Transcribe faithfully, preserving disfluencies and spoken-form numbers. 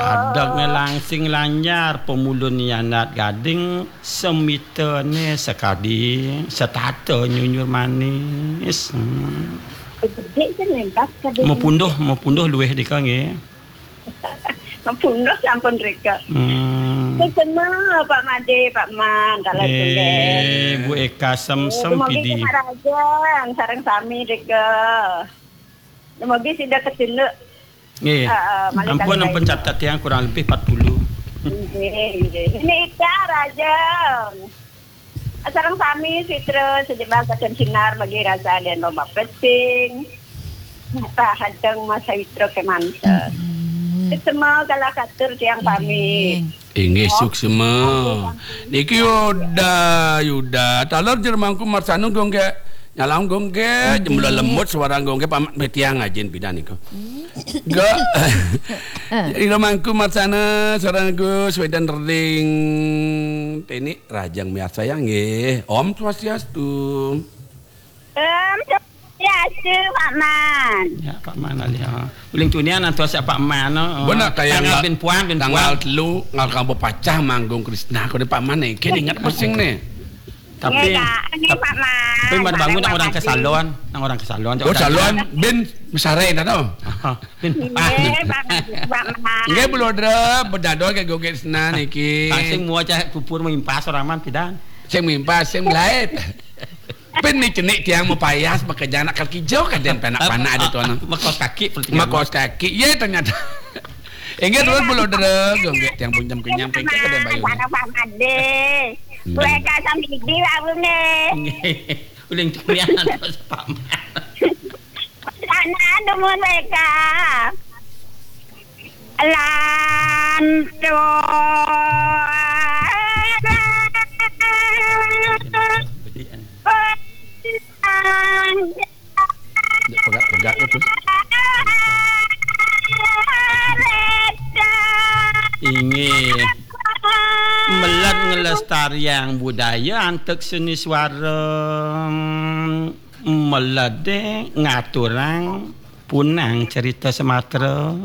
Adeg ngelang sing lanjar, pemulun nianat gading, semitene sekadi, setata nyunyur manis. Hmm. Gedhe sing lintas kadhe. Mepunduh, mepunduh luwih dika nggih. Mepunduh sampun rika. Hmm. Sesema Pak Made, Pak Man, kalau eh, Bu Eka sem-sem pidi. Raja, sareng sami rika. Dumugi sida ketunduk. Nggih. Heeh, malih ampun, ampun catet yang kurang lebih empat puluh. Nggih, nggih. Ini Ika Rajeng. Sareng sami sitra sejebak kacen sinar bagi rasa dan lomba peting. Mata hadeng masa witra kemanta. Hmm. Semua kalah katur tiang pamit. Inggih, suksma. Niki Yuda, Yuda. Taler jer mangku marsanu gongge. Nyalam gongge, jemula lemut suara gongge pamat betiang ajin pidan niku. Ga. Ira mangku marsana suara Gus Wedan Ring. Teni rajang miarsa ya nggih. Om Swastiastu. Em, ya, Pak Man. Ya, Pak Man alih, ha. Uling tunian antos ya Pak Man, oh. Bener kayak tanggal tanggal bin puan, bin tanggal puan. Telu, ngal kamu pacah manggung Krisna, kau ni Pak Man ni. Kini ingat pusing ni. Tapi, nggih, Kak. Nggih, tapi, Pak Man. Tapi baru bangun nang orang ke salon, nang orang ke salon. Oh, salon, bin besare dah tu. Aha, bin. Nggih, Pak Man. Nggih, belodra, bedadol ke gogek Krisna niki. Sing mua cah pupur mimpas orang man pidan. Sing mimpas, sing belait. Pin ni cenik tiang mau payas, maka janak kaki jauh kaden penak panak ada tuan. Makos kaki, pertiga. Makos kaki, ya ternyata. Ingat tuan belodra, gongge tiang punjam kenyam, kengke kaden bayu. Sana Pak Made. Hmm. Mereka sambil di lalu ni. Uling turian, Pak Man. Sana, dumun mereka. Lantur. Pegat-pegat itu. Inggih. Meled ngelestariang budaya antuk seni suara. Melede ngaturang punang cerita Sumatera.